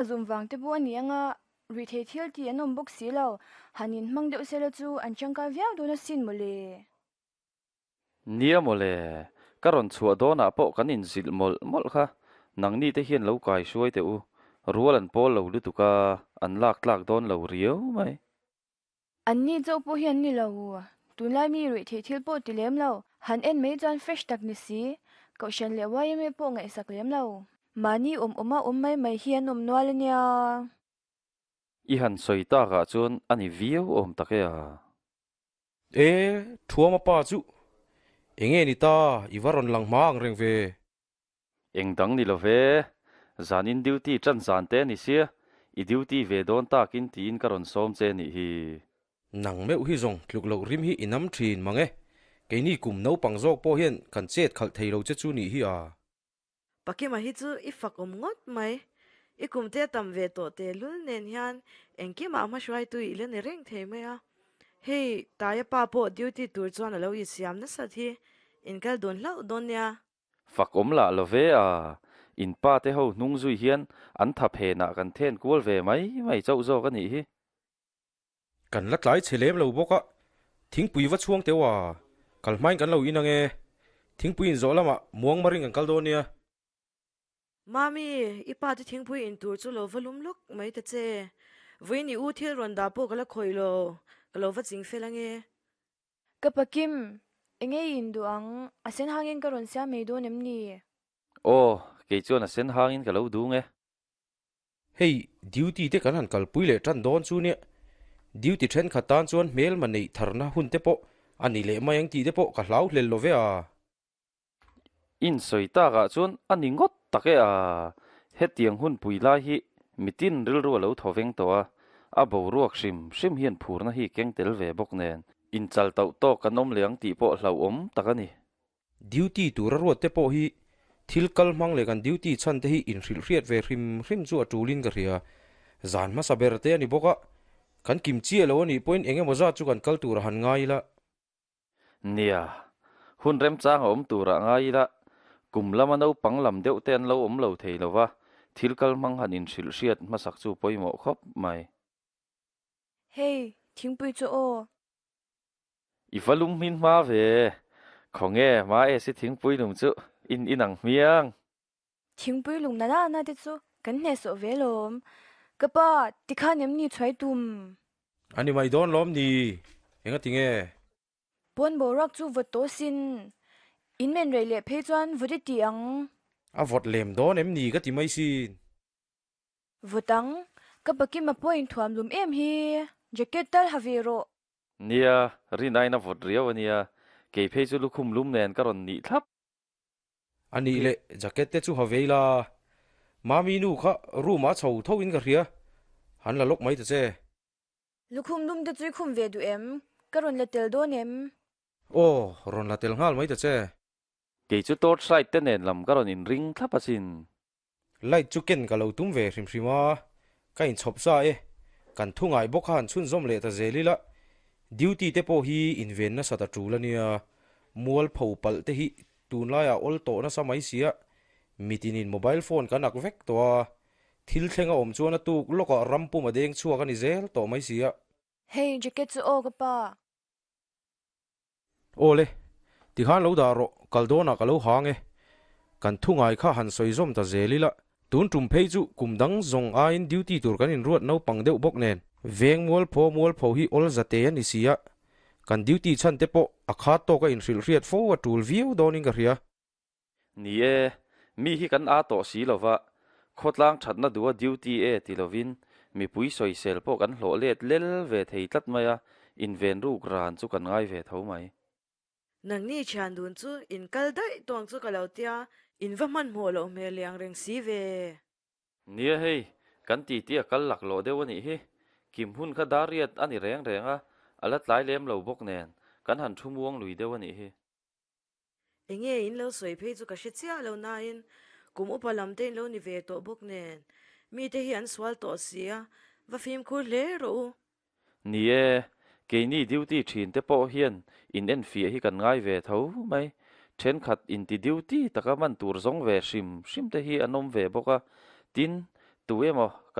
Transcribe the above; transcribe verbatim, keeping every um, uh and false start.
Zum vang te pawh a ni anga ruihtheih thil tih an awm bawk si lo, han inhmang deuh sela chu an tangkai viau dawn asin mawle. Nia mawle, ka rawn chhuah dawnah pawh kan inzilh mawlh mawlh kha, nangni te hian lo kai hruai teh u, rual an pawl lo lutuk a, an lak tlak dawn lo riau mai. Anni chauh pawh hi an ni lo, tunlai mi ruihtheih thil pawh ti lem lo, han en mai chuan fresh tak ni si, Kohhran leh yma pawh ngaihsak lem lo. Mahni awm awma awm mai mai hi an awm nual a nia. I han sawi takah chuan a ni viau awm tak e a. E, Thuama pa chu enge ni ta, i va rawn lang hma ang reng ve. Eng dang ni lo ve, zanin duty tan zan te a ni sia, i duty ve dawn takin tiin ka rawn sawm che nih hi. Nang meuh hi zawng tluk loh rim hi i nam thin mang e, keini kum naupang zawk pawh hian kan chet khalh thei lo che chu nih hi a. Pakima hi chu i fak awm ngawt mai. I kum te a tam ve tawh tehlul nen hian engkimah hmahruaitu i la ni reng thei mai a. Hei, Taia pa pawh duty tur chuan a lo insiam nasat hi inkal dawn hlauh dawn nia. Fak awm lah lo ve a, in pa te ho hnung zui hian an tha phenah kan then kual ve mai mai chauh zawk a nih hi. Kan la tlai chhe lem lo bawk a, thingpui va chhuang teuh a, kal hmain kan lo in ang e. Thingpui inzawh lamah muang maring kan kal dawn nia. Mami, i pa te thingpui in tur chu lo va lum lawk mai ta che. Vawiin i u thil rawn dah pawh ka la khawih lo, ka lo va ching fel ange. Ka pa Kim, enge i induh ang? A sen hangin ka rawn siam mai dawn em ni? Aw, kei chuan a sen hangin ka lo dung e. Hei, duty te kan han kalpui leh tan dawn chu nia. Duty thenkhat tan chuan hmelma neih tharna hun te pawh a ni leh mai ang tih te pawh ka hlau hlel lo ve a. Insawi takah chuan a ni ngawt tak e a, hetiang hunpui lai hi mitin rilru a lo thaw veng tawh a, a boruak hrim hrim hian phurna hi keng tel ve bawk nen inchal tauh tawk kan awm leh ang tih pawh hlauhawm tak a ni. Duty tura ruat te pawh hi thil kal hmang leh kan duty chhan te hi inhrilh hriat ve hrim hrim chu a tulin ka hria. Zan hmasa ber te a ni bawk a, kan kim chiah lo a nih pawhin eng emaw zat chu kan kal tur a han ngai ila. Nia, hun remchang a awm turah ngai ila, kum lama naupang lam deuh te an lo awm lo thei lo va, thil kal hmang han inhrilh hriat hmasak chu pawimawh khawp mai. Hei, thingpui chu aw. I va lum hmin hma ve. Khawnge, hma e si thingpui lum chu in inang hmiang. Thingpui lum na na na te chu kan hnehsawh ve lawm. Ka pa, tikhan em ni chhuai tum? A ni mai dawn lawm ni, enga tinge? Pawn boruak chu vawt tawh sin. In men rei leh phei chuan vawt i ti ang. A vawt lem dawn em ni ka ti mai sin. Vawt ang, ka pakima pawh inthuam lum em hi, jacket tal ha ve rawh. Nia, rin aiin a vawt riau a nia, kei phei chu lukhum lum nen ka rawn nih thlap. A nih leh jacket te chu ha ve ila, Mami nu kha room ah chho tho in ka hria, han la lawk mai ta che. Lukhum lum te chu i khum ve duh em? Ka rawn la tel dawn em? Aw, rawn la tel nghal mai ta che. Kei chu torch light te nen lam ka rawn inring thlap asin. Light chu ken ka lo tum ve hrim hrim a, ka inchhawp sa e. Kan thu ngai bawk kha han chhunzawm leh ta zel ila, duty te pawh hi inven nasa ta tul a nia. Mualpho palh te hi tunlaiah awl tawh nasa mai sia, mitinin mobile phone kan ak vek tawh a, thil thleng a awm chuan a tuk lawkah ram pum a deng chhuak a ni zel tawh mai sia. Hei jacket chu aw ka pa. Aw le, tikhan lo dah rawh, kal dawnah ka lo hang e. Kan thu ngai kha han sawi zawm ta zel ila, tun tum phei chu kum dang zawng aiin duty tur kan inruat naupang deuh bawk nen. Veng mualpho mualpho hi awl zate a ni si a, kan duty chhan te pawh a khat tawk a inhrilh hriat fo a tul viau dawnin ka hria. Ni e, mi hi kan a tawh si lova, khawtlang thatna duha duty e ti lovin mipui sawisel pawh kan hlawh let lel ve thei tlat mai a, inven ruk ran chu kan ngai ve tho mai. Nangni thian dun chu in kal daih tawng chu ka lo tia, in va hmanhmawh loh hmel liang reng si ve. Nia hei, kan titi a kal laklawh deuh a nih hi. Kim hun kha dar riat a ni reng reng a, a la tlai lem lo bawk nen, kan han thu muang lui deuh a nih hi. Enge in lo sawi phei chu ka hre chiah lo nain kum upa lam te in lo ni ve tawh bawk nen, mite hi an sual tawh si a, va fimkhur hle rawh u. Ni e, keini duty thin te pawh hian in enfiah hi kan ngai ve tho mai. Thenkhat inti duty taka man tur zawng ve hrim hrim te hi an awm ve bawk a, tin, Tu emaw